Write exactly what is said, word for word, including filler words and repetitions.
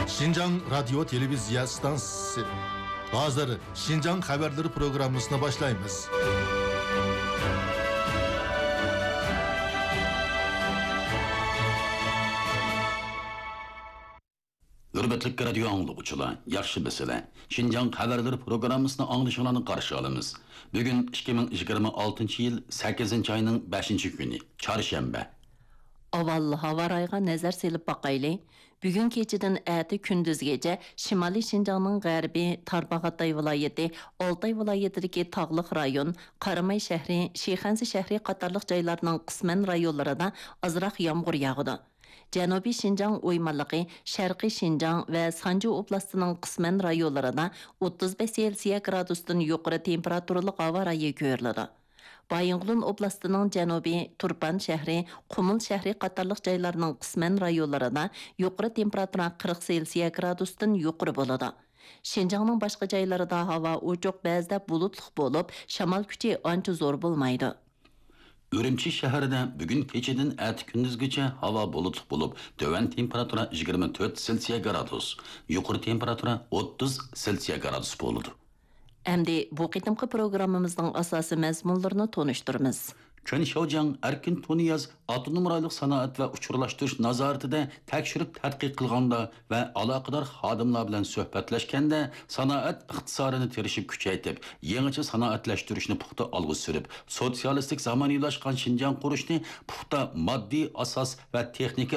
شىنجاڭ رادىيو تېلېۋىزىيە ئىستانسىسى. ھازىر شىنجاڭ خەۋەرلىرى پروگراممىسىنى باشلايمىز. ھۆرمەتلىك رادىيو ئاڭلىغۇچىلار، ياخشىمۇسىلەر؟ شىنجاڭ خەۋەرلىرى پروگراممىسىنى ئاڭلىشىڭلارنى قارشى ئالىمىز. بۈگۈن ئىككى مىڭ يىگىرمە ئالتىنچى يىل سەككىزىنچى ئاينىڭ بەشىنچى كۈنى، چارشەنبە. ئاۋۋال ھاۋا رايىغا نەزەر سېلىپ باقايلى. بۈگۈن كېچىدىن ئەتە كۈندۈزگىچە شىمالىي شىنجاڭنىڭ غەربى، تارباغاتاي ۋىلايىتى، ئالتاي ۋىلايىتىدىكى تاغلىق رايون، قاراماي شەھىرى، شىخەنزە شەھىرى قاتارلىق جايلارنىڭ قىسمەن رايونلىرىدا ئازراق يامغۇر ياغىدۇ. جەنۇبىي شىنجاڭ ئويمانلىقى، شەرقىي شىنجاڭ ۋە سانجى ئوبلاستىنىڭ قىسمەن رايونلىرىدا ئوتتۇز بەش سېلسىيە گرادۇستىن يۇقىرى تېمپېراتۇرىلىق ھاۋا رايى كۆرۈلىدۇ. بايىنغولىن ئوبلاستىنىڭ جەنۇبى، تۇرپان شەھىرى، قۇمۇل شەھىرى قاتارلىق جايلارنىڭ قىسمەن رايونلىرىدا يۇقىرى تېمپېراتۇرا قىرىق سېلسىيە گرادۇستىن يۇقىرى بولىدۇ. شىنجاڭنىڭ باشقا جايلىرىدا ھاۋا ئوچۇق، بەزىدە بۇلۇتلۇق بولۇپ، شامال كۈچى ئانچە زور بولمايدۇ. ئۈرۈمچى شەھىرىدە بۈگۈن كېچىدىن ئەتە كۈندۈزگىچە ھاۋا بۇلۇتلۇق بولۇپ، تۆۋەن تېمپېراتۇرا يىگىرمە تۆت سېلسىيە گرادۇس، يۇقىرى تېمپېراتۇرا ئوتتۇز سېلسىيە گرادۇس بولىدۇ. ئەمدى بۇ قېتىمقى پروگراممىمىزنىڭ ئاساسىي مەزمۇنلىرىنى تونۇشتۇرىمىز. چېن شياۋجياڭ ئەركىن تۇنىياز ئاپتونوم رايونلۇق سانائەت ۋە ئۇچۇرلاشتۇرۇش نازارىتىدە تەكشۈرۈپ تەتقىق قىلغاندا ۋە ئالاقىدار خادىملار بىلەن سۆھبەتلەشكەندە، سانائەت ئىقتىسادىنى تىرىشىپ كۈچەيتىپ، يېڭىچە سانائەتلەشتۈرۈشنى پۇختا ئالغا سۈرۈپ، سوتسىيالىستىك زامانىۋىلاشقان شىنجاڭ قۇرۇشنى پۇختا ماددىي ئاساس ۋە تېخنىكا